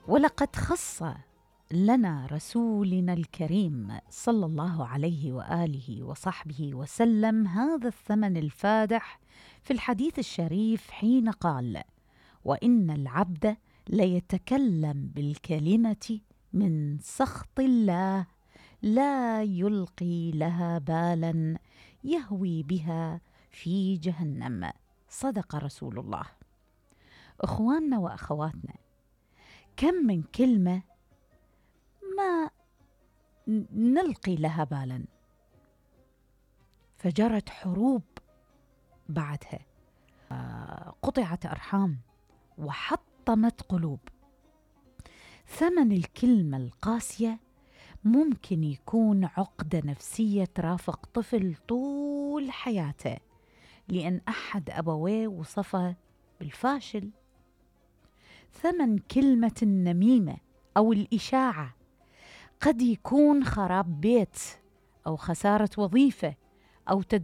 ولقد خص لنا رسولنا الكريم صلى الله عليه وآله وصحبه وسلم هذا الثمن الفادح في الحديث الشريف حين قال: وإن العبد ليتكلم بالكلمة من سخط الله لا يلقي لها بالا يهوي بها في جهنم. صدق رسول الله. إخواننا وأخواتنا، كم من كلمة ما نلقي لها بالا، فجرت حروب بعدها، قطعت أرحام وحطمت قلوب. ثمن الكلمة القاسية ممكن يكون عقدة نفسية ترافق طفل طول حياته لأن أحد أبويه وصفه بالفاشل. ثمن كلمة النميمة أو الإشاعة قد يكون خراب بيت أو خسارة وظيفة أو تدمير